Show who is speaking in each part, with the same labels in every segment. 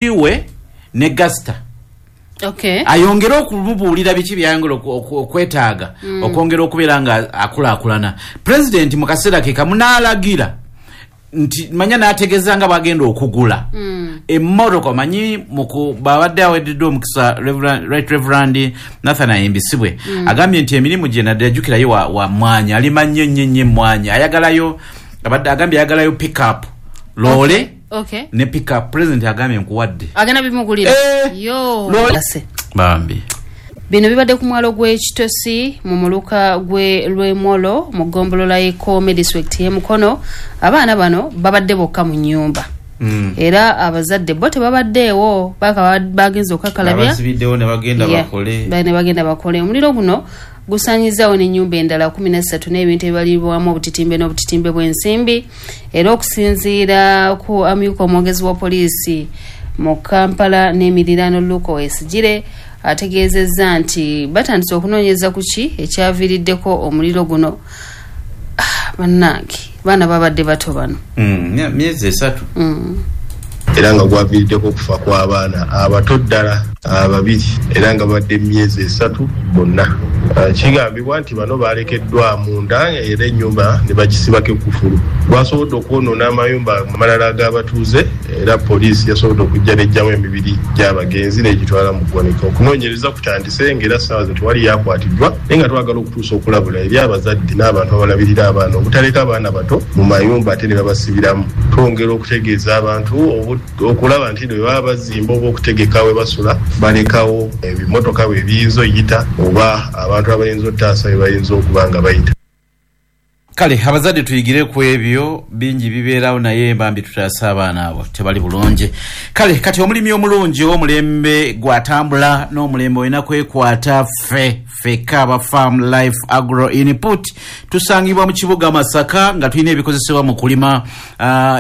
Speaker 1: We ne Gasta. Ayongere okumubuulira biki byayongera okwetaaga okwongera okubeera nga akulaakulana. Pulezidenti mu kaseera ke kamu n'alagira nti manya n'ategeeza nga bw'agenda okugula emmotoka. Omanyi babadde aweereddwa omukisa Right Reverend Nathan Ayimbisibwe, agambye nti emirimu gye nadde yajjukirayo wa mmwanyi, alima nnyo nnyo nnyo emmwanyi, ayagalayo, abadde agambye ayagalayo pickup loole ne pickup. President agambye nkuwadde.
Speaker 2: Agenda bimugulira.
Speaker 1: Eh,
Speaker 2: yo.
Speaker 1: Loole. Bambi.
Speaker 2: Bino bibadde ku mwalo gw'Ekitosi mu muluka gwe Lwemolo mu ggombolola y'Ekkoome, disitulikiti y'e Mukono. Abaana bano babadde bokka mu nnyumba era abazadde bo tebabaddeewo, baka bagenze okukakalabya.
Speaker 1: Abasibiddewo ne bagenda bakole.
Speaker 2: Ne bagenda bakole. Omuliro guno gusanyizaawo n'ennyumba endala 13 n'ebintu ebibalirwamu obutitimbe n'obutitimbe bw'ensimbi. Era okusinziira ku amyuka omwogezi wa poliisi mu Kampala n'emiriraano, Luke Owoyesigyire, ategeezezza nti batandise okunoonyereza ku ki ekyaviiriddeko omuliro guno. Ah, bannange, baana babadde bato bano.
Speaker 1: Myezi 3.
Speaker 3: Era nga gwaviiriddeko okufa kw'abaana abato ddala ababiri, era nga babadde emyezi 3 bonna. Kigambibwa nti bano balekeddwa munda era ennyumba ne bagisibako ekkufulu. Gwasobodde okwonoona amayumba amalala ag'abatuuze, era poliisi yasobodde okujja n'eggyamu emibiri gy'abagenzi n'egitwala mu ggwanika. Okunoonyereza kutandise, ng'era ssaawa zino tewali yakwatiddwa, naye nga twagala okutuusa okulabula eri abazadde n'abantu abalabirira abaana obutaleka abaana bato mu mayumba ate ne babasibiramu. Twongera okutegeeza abantu okulaba nti bwe baba bazimba oba okutegeka we basula, balekawo ebimotoka bwe biyinza oyita oba abantu abayinza ottaasa bwe bayinza okuba nga bayita.
Speaker 1: Kale abazadde tuyigire ku ebyo, bingi bibeerawo, naye bambi tutaase abaana abo, tebali bulungi. Kale kati omulimi omulungi ow'omulembe gwatambula n'omulembe olina kwekwata ffe ffekka aba Farm Life Agro Input. Tusangibwa mu kibuga Masaka nga tulina ebikozesebwa mu kulima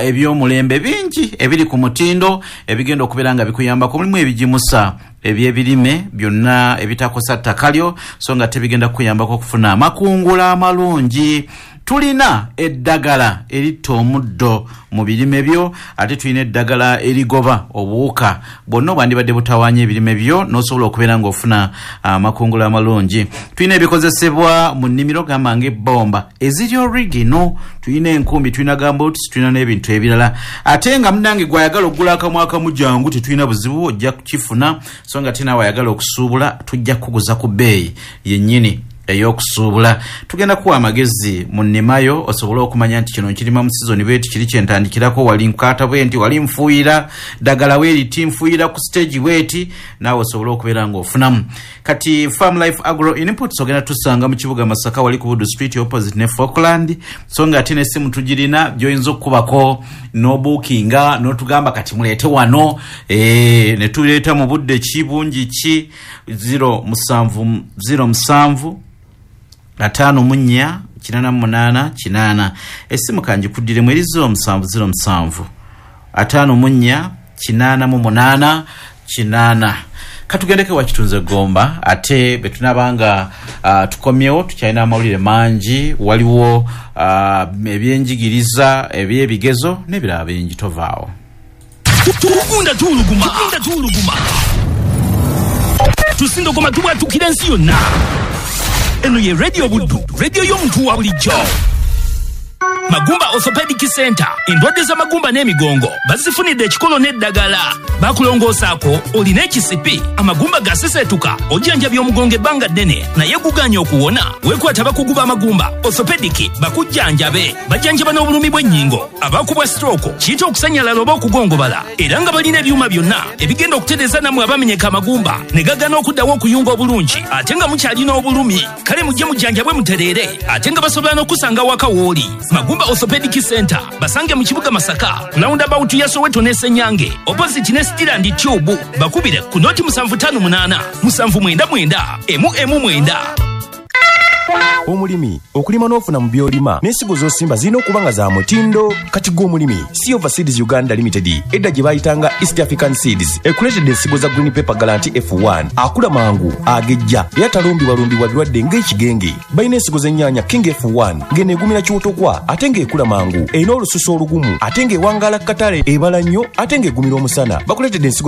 Speaker 1: eby'omulembe bingi ebiri ku mutindo ebigenda okubeera nga bikuyambako. Mulimu ebigimusa ebyebirime byonna ebitakosa ttaka lyo, so nga tebigenda kukuyambako okufuna amakungula amalungi. Tulina eddagala eritta omuddo mu birime byo, ate tulina eddagala erigoba obuwuka bwonna obwandibadde butawaanya ebirime byo n'osobola okubeera ng'ofuna amakungula amalungi. Tulina ebikozesebwa mu nnimiro gamba ng'ebbomba eziri original, tulina enkumbi, tulina gumboots, tulina n'ebintu ebirala. Ate nga munnange gw'ayagala okugula akamu akamu, jangu, tetulina buzibu, ojja kukifuna. So nga ate naawe ayagala okusuubula, tujja kukuguza ku bbeeyi yennyini ey'okusuubula. Tugenda kuwa amagezi mu nnimayo osobole okumanya nti kino nkirima mu sizoni bweti, kiri kyentandikirako, wali nkwata bwe nti, wali nfuuyira ddagala weeriti, nfuuyira ku stage bweti, naawe osobole okubeera ng'ofunamu. Kati Farm Life Agro Inputs ogenda tusanga mu kibuga Masaka, wali ku Budu Street opposite ne Falkland. So nga ate n'essimu tugirina gy'oyinza okukubako n'obuukinga n'otugamba kati muleete wano, ne tuleeta mu budde ki, bungi ki. 07 07 54 88 8. Essimu kanjikuddiremu eri 0707 54 88 8. Katugendeko wakitunze Gomba, ate bwe tunaba nga tukomyewo tukyalina amawulire mangi, waliwo ebyenjigiriza, ebyebigezo n'ebirala bingi. Tovaawo.
Speaker 4: Tugunda tuwuluguma, tugunda tuwuluguma, tusindogoma, tubwatukira ensi yonna. Eno ye Radio Buddu, radio y'omuntu wa bulijjo. Magumba Orthopedic Center, endwadde z'amagumba n'emigongo bazifunidde ekikolo n'eddagala. Bakulongoosaako olina ekisipi, amagumba gaseseetuka, ojjanjabya omugongo ebbanga ddene naye guganye okuwona, weekwata abakugu b'amagumba orthopedic bakujjanjabe. Bajjanjaba n'obulumi bw'ennyingo, abakubwa stroke, kiyita okusanyalala oba okugongobala, era nga balina ebyuma byonna ebigenda okutereeza nammwe abamenyeka amagumba ne gagana okuddawo okuyunga obulungi ate nga mukyalina obulumi. Kale mujje mujjanjabwe mutereere, ate nga basobola n'okusanga waka w'oli. Magumba Orthopedic Center basange mu kibuga Masaka, roundabout ya Soweto ne Senyange, opposite ne Stiland Tube. Bakubire ku 0758 799 119.
Speaker 5: Omulimi okulima n'ofuna mu by'olima, n'ensigo z'osimba zirina okuba nga za mutindo. Kati gwe omulimi, Silver Seeds Uganda Limited, edda gye bayitanga East African Seeds, ekuleetedde ensigo za Green Pepper Guarantee F1, akula mangu, agejja era talumbibwalumbibwa birwadde ng'ekigenge. Balina ensigo z'ennyaanya King F1, ng'eno egumira kiwotokwa ate ng'ekula mangu, erina olususu olugumu ate ng'ewangaala katale, ebala nnyo ate ng'egumira omusana. Bakuleetedde ensigo.